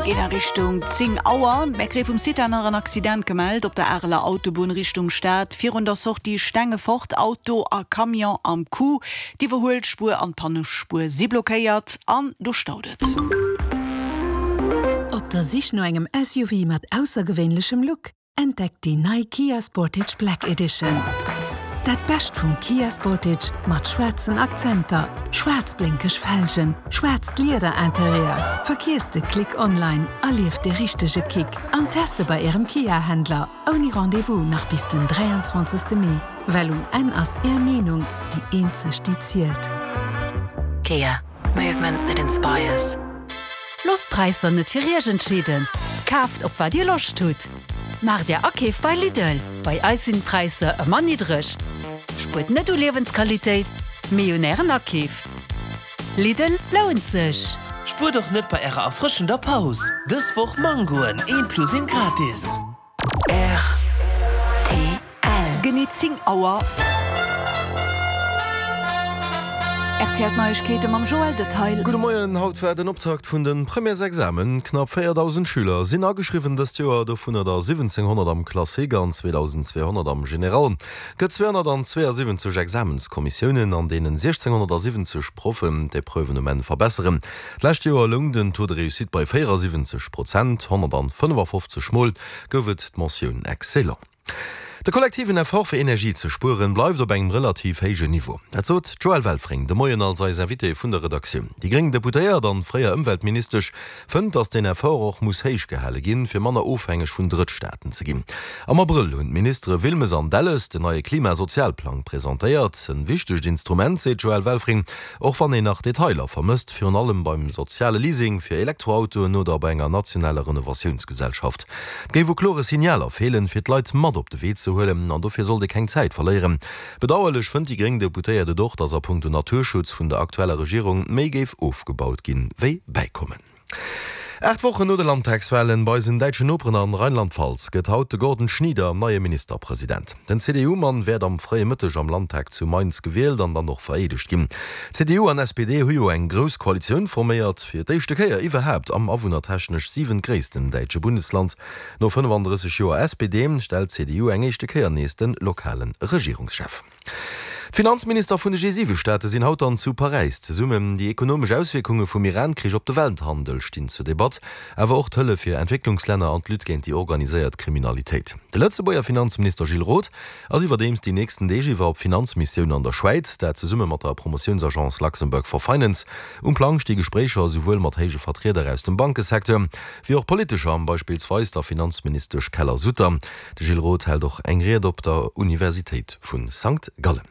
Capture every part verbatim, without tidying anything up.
Mir ginn a Richtung zéng Auer. Mir kréie vum CITA nach en Accident gemellt op der Areler Autobunn Richtung Stad. Virun der Sortie Stengefort, Auto a Camion am Coup. D'Iwwerhuelspuer an d'Pannespuer si blockéiert an do staut et. Op der Sich no engem S U V mat aussergewéinlechem Look? Entdeckt déi nei Kia Sportage Black Edition. Dat Bescht vum Kia Sportage mat schwaarzen Akzenter, schwaarz blénkeg Felgen, schwaarzt Liederinterieur. Vergiesst de Klick online, erlieft de richtege Kick an teste bei Ärem Kia-Händler ouni Rendez-vous nach bis den dräianzwanzegste Mee. Well um Enn ass Är Meenung déi eenzeg déi zielt. Kia. Movement that inspires. Loosst d'Präisser net fir Iech entscheeden. Kaaft op wat Dir Loscht hutt. Maacht Är Akeef bei Lidl. Bei eis sinn d'Präisser ëmmer niddreg. Spuert net u Liewensqualitéit, mee un Ären Akeef. Lidl lount sech. Spuert och net bei ärer erfrëschender Paus. Dës Woch Mangoen, een plus een gratis. R T L. Genee zéng Auer. R T L Neiegkeete mam Joël Detail. Gudde Moien, haut war den Optakt vun de Premièresexamen. Knapp véierdausend Schüler sinn ageschriwwen dëst Joer, dovunner der siwwenzénghonnert am Classique an zweedausendzweehonnert am General. Et gëtt zweehonnertzweeasiwwenzeg Examenskommissiounen, an deenen siechzénghonnertsiwwenzeg Proffen d'Epreuven um Enn verbesseren. D'lescht Joer loung den Taux de réussite bei véierasiwwenzeg Prozent, honnertfënnefafofzeg Mol gouf et d'Mentioun excellent. De kollektiven Effort fir Energie ze spueren bleift op engem relativ héijen Niveau. Dat sot d'Joëlle Welfring de Moien als eis Invitée vun der Redaktioun. Déi gréng Deputéiert an fréier Ëmweltministesch fënnt, datt deen Effort och muss héich gehale ginn, fir manner ofhängeg vun Drëttstaaten ze ginn. Am Abrëll hunn d'Ministere Wilmes an Delles den neie Klimasozialplang presentéiert. En wichtegt Instrument, seet d'Joëlle Welfring, och wann een nach Detailer vermësst, virun allem beim soziale Leasing fir Elektroautoen oder bei enger nationaler Renovatiounsgesellschaft. Et géif u klore Signaler feelen, fir d'Leit mat op de Wee ze huelen an dofir sollt ee keng Zäit verléieren. Bedauerlech fënnt déi gréng Deputéiert et och, datt a Punkto Naturschutz vun der aktueller Regierung méi géif ofgebaut ginn, wéi bäikommen. Aacht Wochen no de Landtagswalen bei eisen däitschen Noperen an Rheinland-Pfalz gëtt haut de Gordon Schnieder neie Ministerpresident. Den C D U-Mann wäert am fréie Mëtteg am Landtag zu Mainz gewielt an dann och vereedegt ginn. C D U an S P D hu jo eng grouss Koalitioun forméiert, fir d'éischte Kéier iwwerhaapt am awunnertechnesch siwentgréissten däitsche Bundesland. No fënnefandrësseg Joer S P D stellt d'C D U eng éischte Kéier nees de lokale Regierungschef. D'Finanzminister vun de G siwe Staate sinn haut dann zu Paräis zesummen. Déi ekonomesch Auswierkunge vum Iran-Krich op de Welthandel stinn zur Debatt, awer och d'Hëllef fir Entwécklungslänner an d'Lutte géint déi organiséiert Kriminalitéit. De Lëtzebuerger Finanzminister Gilles Roth ass iwwerdeems déi nächsten Deeg iwwer op Finanzmissioun an der Schwäiz, dat zesumme mat der Promotiounsagence Luxembourg for Finance. Um Plang sti Gespréicher esouwuel mat héije Vertrieder aus dem Bankesecteur, wéi och Politescher, beispillsweis der Finanzministesch Keller-Sutter. De Gilles Roth hält och eng Ried op der Universitéit vu Sankt Gallen.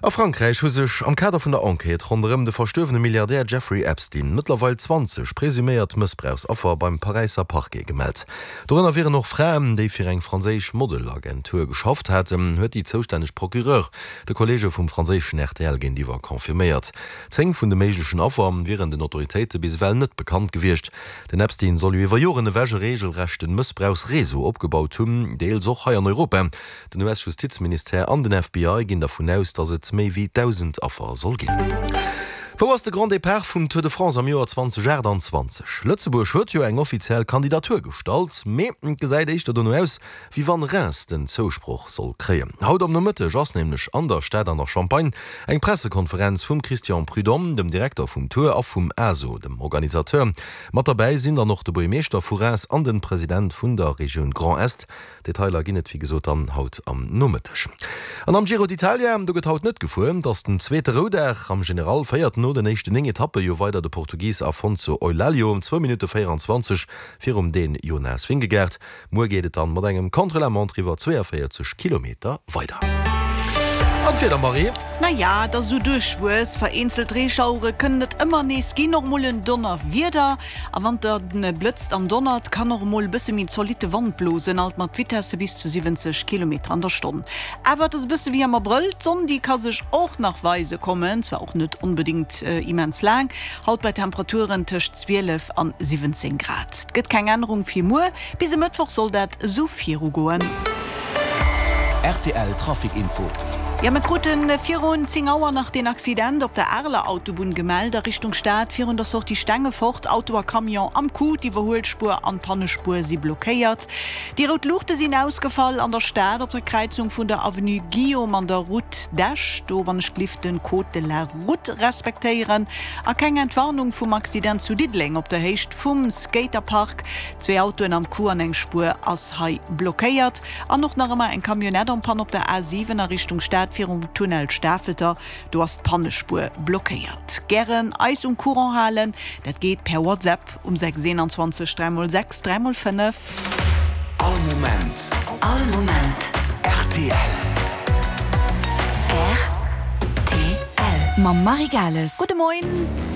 A Frankräich hu sech am Kader vun der Enquête ronderëm de verstuerwene Milliardär Jeffrey Epstein mëttlerweil zwanzeg presuméiert Mëssbrauchsaffer beim Paräisser Parquet gemellt. Dorënner wieren och Fraen, déi fir eng franséisch Modelagentur geschafft haten, huet déi zoustänneg Procureur de Kolleege vum franséischen R T L géintiwwer confirméiert. Zéng vun de méiglechen Affer wieren den Autoritéite bis ewell net bekannt gewiescht. Den Epstein soll jo iwwer Joren ewech e reegelrechte Mëssbrauchsreseau opgebaut hunn, deels och hei an Europa. Den U S-Justizministère an den F B I ginn dervun aus, datt et méi wéi dausend Affer soll ginn. Wou ass de Grand Départ vum Tour de France am Joer zweedausendaachtanzwanzeg? Lëtzebuerg huet jo eng offiziell Kandidatur gestallt, mee et gesäit éischter dono aus, wéi wann Reims den Zousproch soll kréien. Haut am Nomëtteg ass nämlech an der Stad an der Champagne eng Pressekonferenz vum Christian Prudhomme, dem Direkter vum Tour, a vum A S O, dem Organisateur. Mat derbäi sinn dann och de Buergermeeschter vu Reims an de President vun der Regioun Grand Est. Detailer ginn et wéi gesot dann haut am Nomëtteg. An am Giro d'Italia, do gëtt haut net gefuer, et ass den zweete Roudag. Am General féiert no den éischten néng Etappe jo weider de Portugis Afonso Eulalio zwou Minutte véieranzwanzeg virum Dän Jonas Vingegaard. Muer geet et dann mat engem Contre-la-montre iwwer zweeënvéierzeg Kilometer weider. An d'Wieder, Marie? Naja, et ass esou duerchwuess, vereenzelt Reeschauere kënnen et ëmmer nees ginn, och mol en Donnerwieder. A wann et blëtzt an donnert, kann och mol e bësse méi zolitte Wand blosen, alt mat Vitesse bis zu siwwenzeg Kilometer an der Stonn. Awer et ass e bësse wéi am Abrëll, d'Sonn déi ka sech och nach weise kommen, zwar och net onbedéngt immens laang, haut bei Temperaturen tëscht zwielef an siwwenzéng Grad. Et gëtt keng Ännerung fir muer, bis e Mëttwoch soll dat esou virugoen. R T L Trafic Info. Ja, mir kruten virun zéng Auer nach den Accident op der Areler Autobunn gemellt a Richtung Stad virun der Sortie Stengefort. Auto a Camion am Coup, d'Iwwerhuelspuer an d'Pannespuer si blockéiert. Déi rout Luuchte sinn ausgefall an der Stad op der Kräizung vun der Avenue Guillaume an der Route d'Esch. Do wann ech gelift den Code de la Route respektéieren. A keng Entwarnung vum Accident zu Diddeleng op der Héicht vum Skaterpark. Zwee Autoen am Coup an eng Spuer ass hei blockéiert. An och nach ëmmer eng Camionnette en panne op der A siwen a Richtung Stad virum Tunnel Stafelter, do ass d'Pannespuer blockéiert. Gären eis um Courant halen, dat geet per WhatsApp um sechs eenanzwanzeg dräi mol sechs dräi mol fënnef. All Moment. All Moment. Rtl. Rtl. Mam Marie Gales. Gudde Moien.